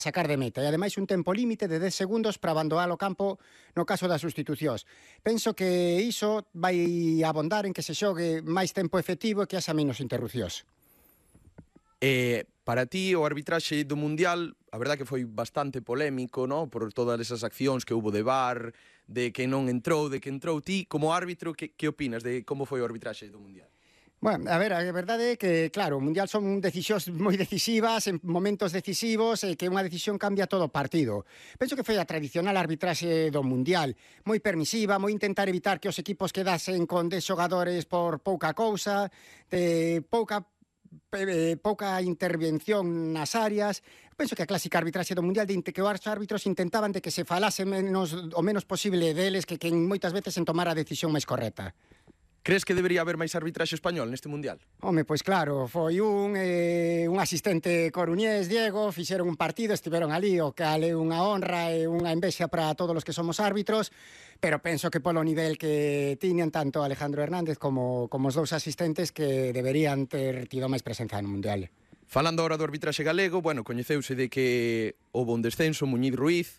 sacar de meta e ademais un tempo límite de 10 segundos para abandonar o campo no caso das sustitucións. Penso que iso vai abondar en que se xogue máis tempo efectivo e que haxa menos interrupcións. Para ti o arbitraxe do Mundial, a verdad que foi bastante polémico, ¿no? Por todas esas accións que hubo de VAR, de que non entrou, de que entrou. Ti, como árbitro, que opinas de como foi o arbitraxe do Mundial? Bueno, a ver, a verdade é que, claro, o Mundial son decisións moi decisivas, en momentos decisivos, e que unha decisión cambia todo o partido. Penso que foi a tradicional arbitraxe do Mundial, moi permisiva, moi intentar evitar que os equipos quedasen con 10 xogadores por pouca cousa, de pouca intervención nas áreas. Penso que a clásica arbitraxe do Mundial de que os árbitros intentaban de que se falase o menos posible deles que moitas veces en tomar a decisión máis correcta. Crees que debería haber máis arbitraxe español neste Mundial? Home, pois claro, foi un asistente coruñés, Diego, fixeron un partido, estiveron ali, o cal é unha honra e unha envexa para todos os que somos árbitros, pero penso que polo nivel que tiñan tanto Alejandro Hernández como os dous asistentes que deberían ter tido máis presenza no Mundial. Falando ahora do arbitraxe galego, bueno, coñeceuse de que houve un descenso, Muñiz Ruiz.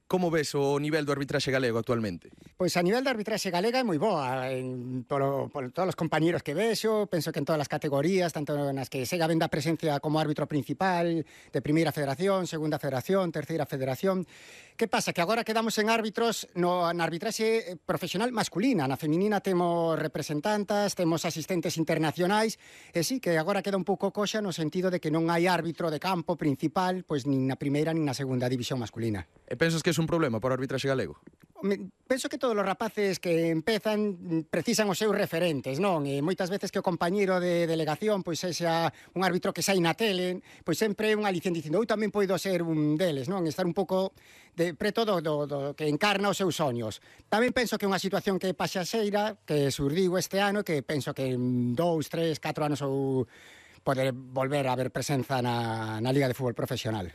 Como ves o nivel do arbitraxe galego actualmente? Pois a nivel da arbitraxe galega é moi boa, por todos os compañeros que vexo, penso que en todas as categorías, tanto nas que segue habendo a presencia como árbitro principal de primeira federación, segunda federación, terceira federación. Que pasa? Que agora quedamos en árbitros na arbitraxe profesional masculina, na feminina temos representantas, temos asistentes internacionais, e sí, que agora queda un pouco coxa no sentido de que non hai árbitro de campo principal, pois nin na primeira nin na segunda división masculina. E pensas que é un problema para o arbitraxe galego? Penso que todos os rapaces que empezan precisan os seus referentes, non? E moitas veces que o compañeiro de delegación pois sexa un árbitro que sai na tele, pois sempre é un aliciente dicindo eu tamén poido ser un deles, non? Estar un pouco de preto do que encarna os seus soños. Tamén penso que é unha situación que é paxaxeira, que surdiu este ano, que penso que en 2, 3, 4 anos ou poder volver a haber presenza na Liga de Fútbol Profesional.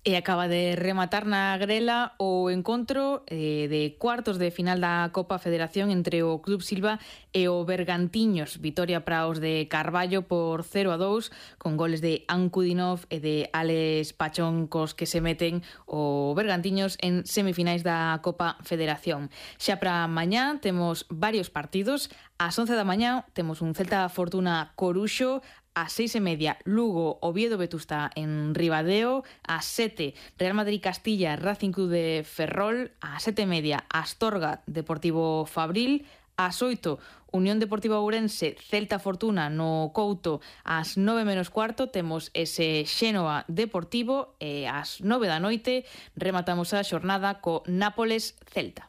E acaba de rematar na grela o encontro de cuartos de final da Copa Federación entre o Club Silva e o Bergantiños. Vitoria para os de Carballo por 0-2 con goles de Ankudinov e de Alex Pachón cos que se meten o Bergantiños en semifinais da Copa Federación. Xa para mañá temos varios partidos. Ás 11 da mañá temos un Celta Fortuna Coruxo, ás 6:30 Lugo Oviedo Vetusta en Ribadeo, ás 7 Real Madrid Castilla Racing Club de Ferrol, ás 7:30 Astorga Deportivo Fabril, ás 8 Unión Deportiva Ourense Celta Fortuna no Couto, ás 9:15 temos ese Xénova Deportivo e ás 9 da noite rematamos a xornada co Nápoles Celta.